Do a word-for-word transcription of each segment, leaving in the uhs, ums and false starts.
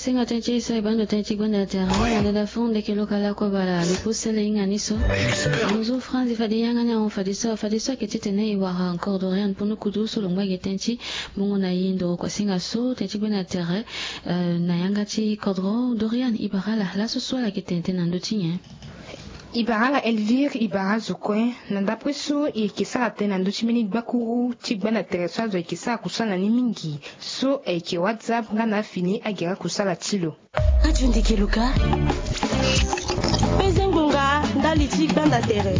Senga tënë ti e so e baa ndo tënë ti gbanda tere na ndada fon ndeke lokala kobala lo kusele hinga ni so. Nzu franzi fade yanga ni ahon fade so fade so ayeke titene e wara encore Dorian pono kudu so lo ngba gi tënë ti mungo na e ndoro kuasinga so tënë ti gbanda tere. Na yanga ti kodro Dorian e bara ala laso so ala yeke tene tënë na ndö ti nyen? E bara ala Elvire e bara azo kue. Na ndapre so e yeke sara tënë na ndö ti mbeni gbakuru ti gbanda tere so azo ayeke sara kusala na ni mingi so ayeke WhatsApp nga na afini agere akusala ti lo. Radio Ndeke Luka. Peze ngbonga ndali ti gbanda tere.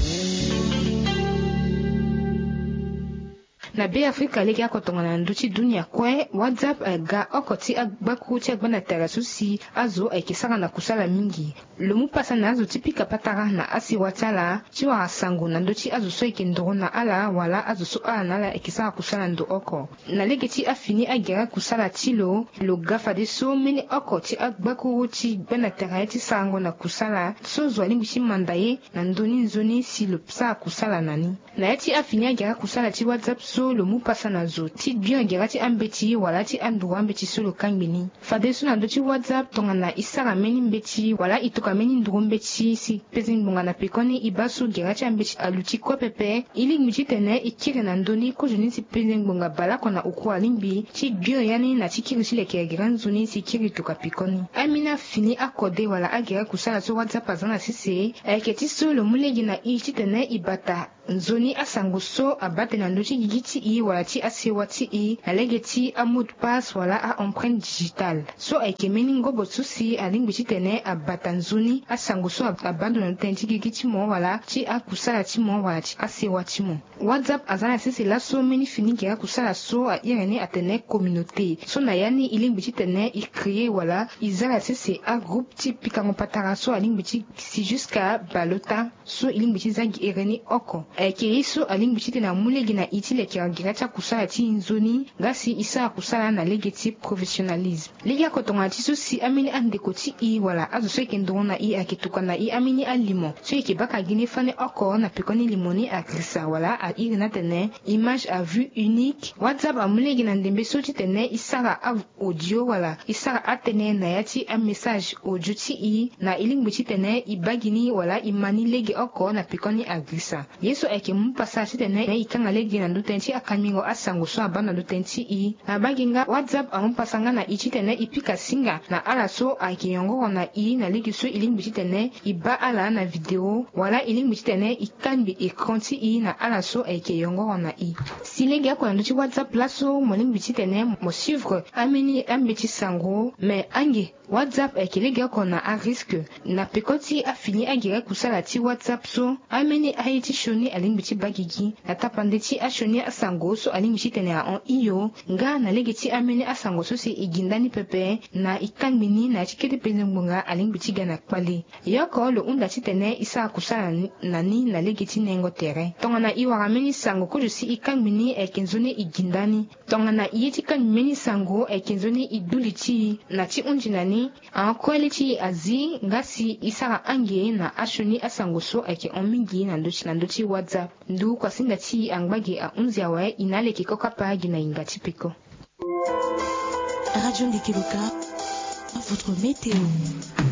Na Be Afrika lege oko tongana na ndö ti dunia kue WhatsApp aga oko ti agbakuru ti agbanda tere so si azo ayeke sara na kusala mingi. Lo mu pasa na azo ti pika patara na asewa ti ala ti wara sango na ndö ti azo so ayeke nduru na ala wala azo so ala na ala ayeke sara kusala ndo oko. Na lege ti afini agere akusala ti lo, lo ga fadeso mbeni oko ti agbakuru ti gbanda tere ti sarango na kusala so zo alingbi ti manda ye na ndö ni nzoni si lo sara kusala na ni. Na ya ti afini agere akusala ti WhatsApp so lo mu pasa na zo ti bion gere ti ambeti wala ti anduru ambeti so lo kangbi ni. Fadeso na ndö ti WhatsApp tongana e sara mbeni mbeti wala e tokua mbeni nduru mbeti si peze ngbonga na pekoni e baa so gere ti ambeti aluti kue pepe, e lingbi titene e kiri na ndö ni kozoni si peze ngbonga baleoko na oku alingbi ti bion ya ni na ti kiri ti lekere gere nzoni si kiri tokua pekoni. Ambeni afini akode wala agere kusala so WhatsApp aza na sese ayeke ti so lo mu lege na e titene e bata nzoni asango so abaa tene na ndö ti gigi ti e wala ti asewa ti e na lege ti amot de passe wala aempreinte digitale. So ayeke mbeni ngobo so si alingbi titene abata nzoni asango so abaa ndo na ndö tënë ti gigi ti mo wala ti akusala ti mo wala ti asewa ti mo. WhatsApp aza na sese laso mbeni fini gere akusala so a iri ni atene communauté so na ya ni e lingbi titene e créer wala e za na sese agroupe ti pikango patara so alingbi ti si jusqu'à baleota. So e lingbi ti za gi ere ni oko ayeke ye so alingbi titene amu lege na e ti lekere gere ti akusala ti e nzoni nga si e sara kusala na lege ti professionnalisme. Lege oko tongana ti so si ambeni andeko ti e wala azo so ayeke nduru na e ayeke tokua na e ambeni alimo so e yeke baka gi ni fani oko na pekoni limo ni agrisa wala a iri ni atene image à vue unique. WhatsApp amu lege na ndembe so titene e sara audio wala e sara atënë na ya ti amessage audio ti e na e lingbi titene e baa gi ni wala e ma ni lege oko na pekoni agrisa. Ye so ayeke mu pasa titene e kanga lege na ndö tënë ti akambingo asango so abaa na ndö tënë ti e. Na baa gi nga WhatsApp amu pasa nga na e titene e pika singa na ala so ayeke yongoro na e na lege so e lingbi titene e baa ala na video wala e lingbi titene e kangbi écran ti e na ala so ayeke yongoro na e. Si lege oko na ndö ti WhatsApp laso mo lingbi titene mo suivre ambeni ambeti sango, me ange WhatsApp ayeke lege oko na arisque. Na peko ti afini agere kusala ti WhatsApp so, ambeni aye ti sioni alingbi ti baa gigi na tapande ti asioni asango so alingbi titene ahon hio nga na lege ti ambeni asango so si e gi ndani pepe na e kangbi ni na ya ti kete peze ngbonga alingbi ti ga na kpale. Ye oko lo hunda titene e sara kusala na ni na lege ti nengo tere. Tongana e wara mbeni sango kozo si e kangbi ni ayeke nzoni e gi ndani. Tongana e ye ti kangbi mbeni sango ayeke nzoni e du li ti e na ti hunzi na ni. Ahon kue li ti e azi nga si e sara ange na asioni asango so ayeke hon mingi na ndö ti na ndö ti WhatsApp. Ndu kuasinga ti e angba ge ahunzi awe, e na ala yeke kokapa gi na yinga ti peko. Radio Ndeke Loka, votre météo.